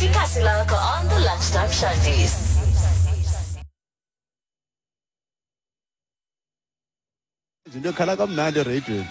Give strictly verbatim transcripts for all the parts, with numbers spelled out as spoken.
Ikasi lakho on the Lunchtime Shandies. Into ekhala kamnandi ereyidweni.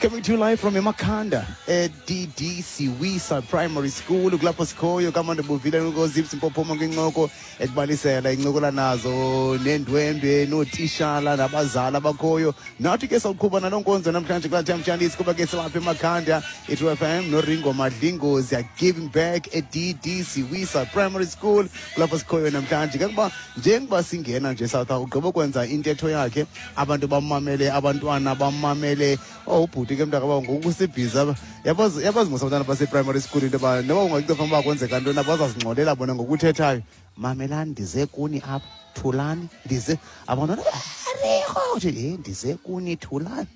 Coming to you live from eMakhanda e-D D Siwisa Primary School, kulapho sikhoyo kamande buvile ngoZips Mpophoma kwincoko ekubalisela incokola nazo neendwendwe nootishala nabazali abakhoyo. Nathi ke sawuqhuba naloo nkonzo namhlanje kulaa time Shandies, kuba ke silapha eMakhanda i-True F M noRingo Madlingozi are giving back e-D D Siwisa Primary School, kulapho sikhoyo namhlanje. Ke kuba njengoba singena nje South Africa, ugqiba ukwenza intetho yakhe, abantu bamamele, abantwana bamamele. Oh, ubhuti ke mntaka bawo ngoku usibhizi apha. Yabazi, yabazi mos abantwana base-primary school into yoba noba ungacinga uba kwenzeka ntoni na, bazazingxolela bona ngokuthethayo. Mamelani, ndize kuni apha, thulani, ndize. Abantwana, Ariho, uthi, eh, ndize kuni, thulani.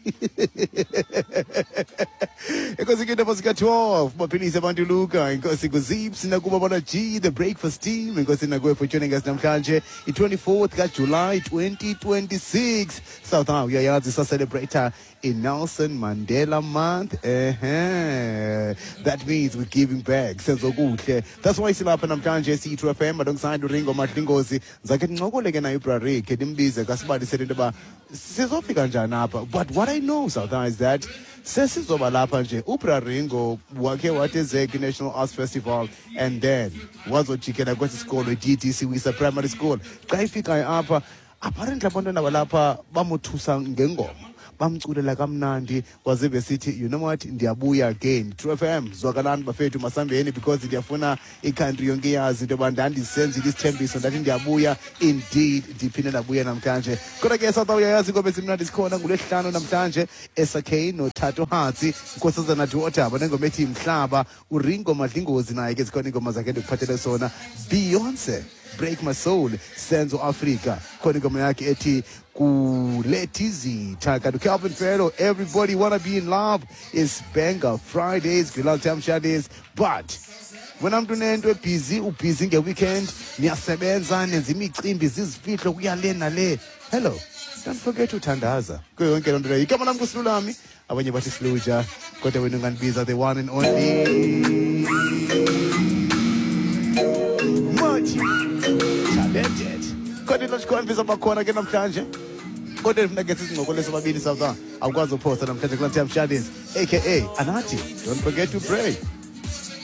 Enkosi ke indaba zika-twelve, baphilise abantu Luka. Enkosi kuZips, nakuba bona G, the breakfast team. Enkosi nakuwe for joining us namhlanje, i-twenty-fourth kaJuly twenty twenty-six. South Africa uyayazi sa-celebrate in Nelson Mandela Month. Uh-huh. That means we're giving back. Senzokuhle. That's why silapha namhlanje siyi-True F M alongside uRingo Madlingozi. Ndizakhe ndincokole ke naye uBra Rick, ndimbize kasibalisele into yoba sizofika njani apha. But what I know, South Africa, is that sesizoba lapha nje uBra Ringo wakhe wathi eze kwi-National Arts Festival and then wazojikela kwesi sikolo i-D D Siwisa Primary School. Xa ifikayo apha, apparently abantwana balapha bamothusa ngengoma, bamculela kamnandi, wazive sithi, you know what, ndiyabuya again. True F M, zwakalani bafethu, masambeni, because ndiyafuna i-country yonke iyazi into yoba ndandisenzile isithembiso, ndathi ndiyabuya. Indeed, ndiphinde ndabuya namhlanje. Kodwa ke South Africa uyayazi ingoba ezimnandi zikhona ngolwesihlanu namhlanje, S K noThato Hatsi, Nkosazana Daughter, banengoma ethi Mhlaba, uRingo Madlingozi naye ke zikhona iingoma zakhe ndikuphathele sona. Beyonce, Break My Soul, Senzo Africa, khona ingoma yakhe ethi Kuletizitha. Kanti Calvin Ferro, Everybody Wanna Be in Love, is Banger Fridays, Lunchtime Shandies. But wena mntu unento ebhizi, ubhizi nge-weekend, niyasebenza, nenza imicimbi, zizifihlo, kuya le nale. Hello, don't forget uthandaza kuyo yonke loo nto leyo. Igama lam nguSilulami, abanye bathi Siluja, kodwa wena ungandibiza the one and only Multi Talented. Kodwa into ndikhona bakhona ke namhlanje, kodwa ndifuna ke sizincokole sobabini South Africa. Awukwazi uphosa namhlanje kulaa Time Shandies, aka Anathi. Don't forget to pray.